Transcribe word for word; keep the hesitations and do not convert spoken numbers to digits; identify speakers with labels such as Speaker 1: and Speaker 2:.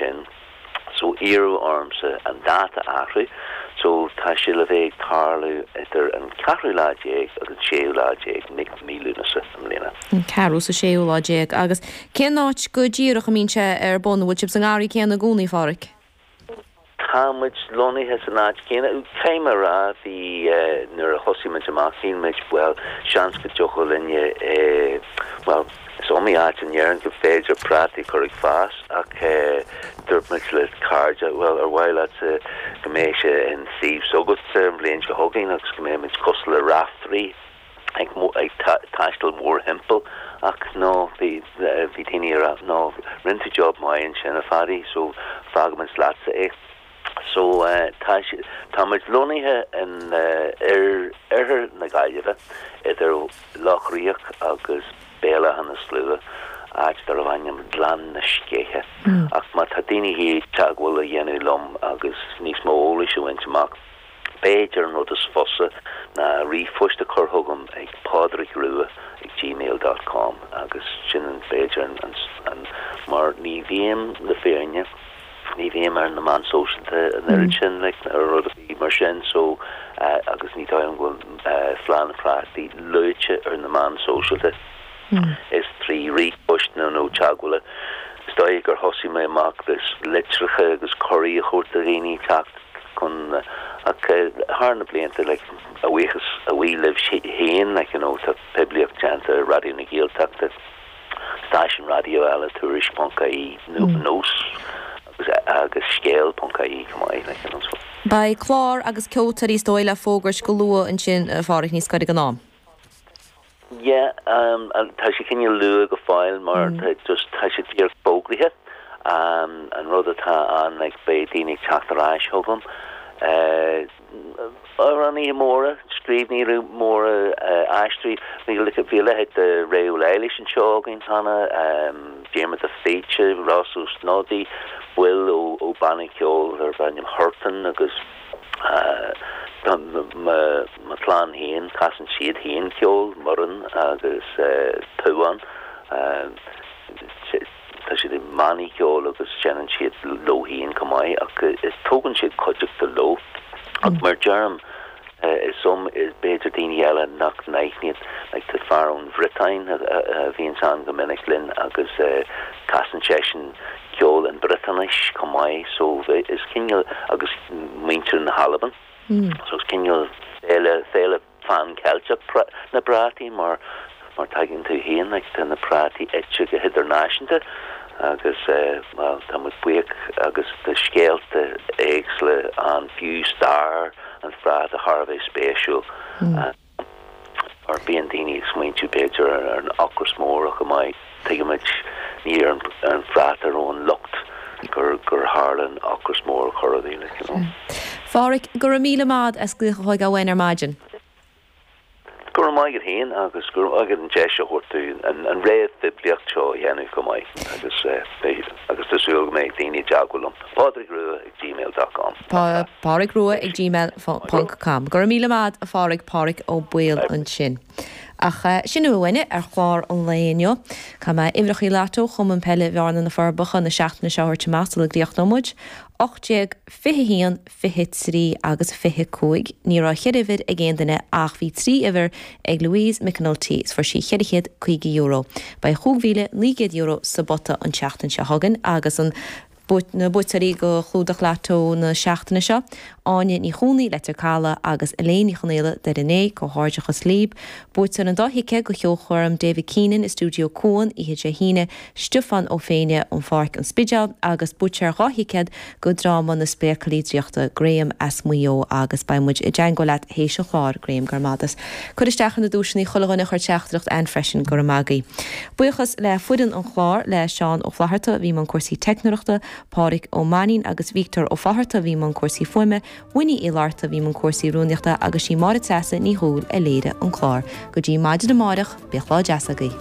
Speaker 1: sin. So iarradh ormsa an dáta a athrú, so tá sé le bheith ag tarlú idir an ceathrú lá déag agus an séú lá déag mí Lúnasa i mbliana.
Speaker 2: An ceathrú is an séú lá déag. Agus cén áit go díreach a mbíonn sé ar bun, an bhfuil sibh sa ngarraí céanna i gcónaí, a Pháraic?
Speaker 1: Tá muid lonnaithe san áit chéanna. Caithfidh mé a rá, bhí, nuair a thosaigh muid amach, shíl muid, bhuel, seans go dtiocfadh linne, bhuel, is iomaí áit in Éirinn go féidir prátaí a chur ag fás ach dúirt muid le cairde, bhuel, ar mhaith leatsa go mbeadh sé an suíomh s'agatsa an bhliain seo chugainn agus go mbeadh muid cosúil le Raiftearaí ag ag taisteal mórthimpeall ach no, bhí bhí daoine ag rá, no, rinne tú job maith ansin a Phaddy so fágfaimid leatsa é. So tá tá muid lonnaithe in oirthear na Gaillimhe idir Loch Riach agus Béal Átha na Slua, áit darbh ainm Gleann na Sceiche. Ach má tá daoine ag iarraidh teagmháil a dhéanamh liom agus níos mó eolais a bhaint amach, b'fhéidir an rud is fusa ná ríomhphost a chur chugam ag pádraigrua ag gmail dot com agus sin an b'fhéidir an an mar ní bhím le fírinne ní bhím ar na meáin sóisialta an oiread sin like ar rud ar bith mar sin so agus ní dóigh liom go bhfuil Fleadh na bPrátaí luaite ar na meáin sóisialta. Is trí ríomhphost nó nó teagmhála. Is dóigh gur thosaigh mé amach le litreacha agus cuirí a thabhairt do dhaoine teacht chun ach thar na blianta like a bhuíochas a bhuí libh féin like you know tá poiblíocht déanta ar Raidió na Gaeltachta. Stáisiún raidió eile, Tuairisc ponc ie, Nós agus Scéal ponc ie chomh maith like you know so.
Speaker 2: Beidh clár agus ceoltóirí is dóigh le fógairt go luath ansin a Pháraic, níos gaire don am.
Speaker 1: Yeah, um, tá sé cineál luath go fóill mar tá just tá sé díreach fógraithe. Um, an rud atá ann like beidh daoine ag teacht ar ais chugam. Uh, amhránaithe móra, scríbhneoirí móra, aisteoirí, bhí a leithéid de Ré Ó Laighléis anseo againn cheana, Diarmuid de Faoite, Ross Ó Snodaigh, baill ó banna ceoil darb ainm Huartan agus mo chlann féin, casann siad féin ceol, Muireann agus Tuán. Tá siad i mbannaí ceoil agus seinneann siad leo féin chomh maith ach is tógann siad cuideachta leo. Ach mar deirim, is um is b'fhéidir daoine eile nach n-aithníonn, like tá fear ón Bhriotáin a bhíonns ann go minic linn agus casann seisean ceol in Briotáinis chomh maith so is cineál agus muintir na hAlban so is cineál féile féile Phan Ceilteach na bprátaí mar mar tuigeann tú féin like tá na prátaí ite go hidirnáisiúnta agus bhuel tá muid buíoch agus tá scéalta éagsúla ann fiú stair an phráta thar a bheith spéisiúil mar bíonn daoine ag smaointiú b'fhéidir ar an ocras mór ach go maith tuigimid ní ar an phráta a raibh an locht gur gur tharla an ocras mór a chur ar daoine you know.
Speaker 2: A Pháraic, go raibh míle maith as glaoch a thógáil uainn ar maidin.
Speaker 1: Go raibh maith agat féin agus go raibh maith agat an deis a thabhairt dúinn an réamhphoiblíocht seo a dhéanamh chomh maith agus agus tá súil go mbeidh daoine i dteagmháil liom. Pádraig Rua ag gmail dot com.
Speaker 2: Pádraig Rua ag gmail ponc com. Go raibh míle maith a Pháraic, Páraic Ó Baoill ansin. Ach sin a bhfuil uainne ar chlár an lae inniu. Caithfidh mé uimhreachaí Lotto Chumann Peile Bhearna na Forbacha na seachtaine seo a thabhairt amach sula gcríochnóidh muid. ocht déag, fiche a haon, fiche trí agus fiche cúig. Ní raibh cheithre uimhir ag aon duine ach bhí trí uimhir ag Louise McAnulty is fuair sí cheithre chéad caoga euro. Beidh chúig mhíle naoi gcéad euro sa bpota an tseachtain seo chugainn agus an na buaiteoirí do chlúdach Lotto na seachtaine seo, Áine Ní Chónaí, Leitir Caladh agus Elaine Ní Chonaola, Doire an Fhéich, Comhghairdeachas libh. Buaiteoir an dá thicéad do cheolchoirm David Keenan i Stiúideo Cuan oíche Dé hAoine, Stiofán Ó Féinne ón Pháirc, An Spidéal, agus buaiteoir dhá thicéad go dráma Na Spéaclaí Draíochta, Graham as Maigh Eo agus beidh muid i dteangmháil leat théis an chláir, Graham, go raibh maith agat. Cur isteach ar na duaiseanna chuile dhuine a chuir teachtaireacht ann freisin, go raibh maith agaibh. Buíochas le foireann an chláir, le Seán Ó Flatharta a bhí i mbun cúrsaí teicneoireachta, Pádraig Ó Mainnín agus Víoctóir Ó Fátharta a bhí i mbun cúrsaí fuaime, Winnie Uí Fhlatharta a bhí i mbun cúrsaí rúnaíochta agus sí Máire Treasa Ní Dhúill a léirigh an clár. Go dtí maidin amáireach, bíodh lá deas agaibh.